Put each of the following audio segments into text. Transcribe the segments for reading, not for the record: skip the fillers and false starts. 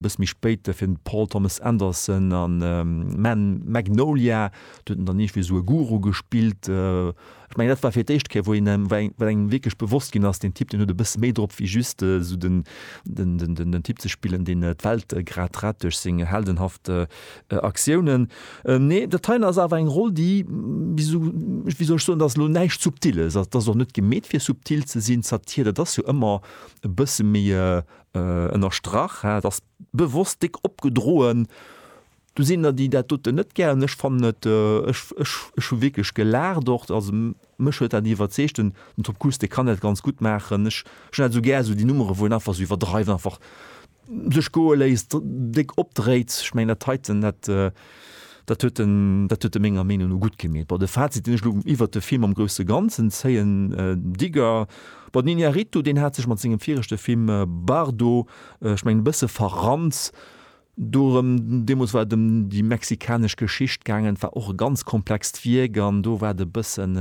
Bësse méi spéit fir den Paul Thomas Anderson an Man Magnolia, do huet en dann iergendwéi esou e Guru gespillt. Ech mengen dat war fir d'éischt Kéier wou een wou engem wierklech bewosst ginn ass, deen Typ deen huet e bësse méi drop wéi just esou den den den den Typ ze spillen deen d'Welt grad rett duerch seng heldenhaft Aktiounen. Nee dat heien ass awer eng Roll déi, wéi sou wéi soll ech soen, dat ass elo näischt Subtiles, dat ass och net gemeet fir subtil ze sinn. Satir dat ass jo ëmmer e bësse méi Ënnerstrach, et ass bewosst déck opgedroen. Do sinn der, déi dat doten net gären. Ech fannen et, ech, ech, ech hu wierklech gelaacht och. Also mech huet dat iwwerzeegt. Den Tom Cruise, dee kann dat ganz gutt maachen. Ech hunn dat esou gär, esou déi Nummere wou en einfach esou iwwerdreift, einfach sech goe léisst, déck opdréit. Ech mengen dat heiten, dat, Dat huet en, dat huet e menger Meenung no gutt gemeet. Bon, de Fazit, deen ech elo iwwert de Film am grousse Ganzen zéien, Digger, bon, den Iñárritu, deen hat sech mat sengem viregte Film Bardo, ech mengen, e bësse verrannt. Dorëm, deemools war et ëm déi mexikanesch Geschicht gaangen, et war och e ganz komplext Wierk an do war et e bëssen,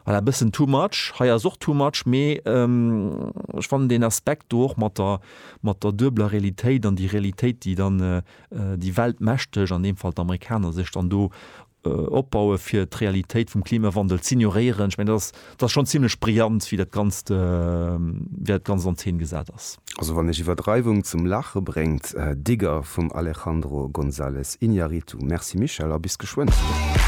voilà, e bëssen too much. Hei ass och too much, mee ech fannen deen Aspekt do och mat der, mat der duebeler Realitéit an déi Realitéit, déi dann déi Weltmächteg, an deem Fall d'Amerikaner, sech dann do opbaue fir d'Realitéit vum Klimawandel z'ignoréieren. Ech mengen, dat ass, dat ass schonn zimlech brillant, wéi dat Ganzt, wéi dat Ganzt an Zeen gesat ass. Also wann iech Iwwerdreiwung zum Laache bréngt, Digger vum Alejandro González Iñárritu. Merci Michèle a bis geschwënn.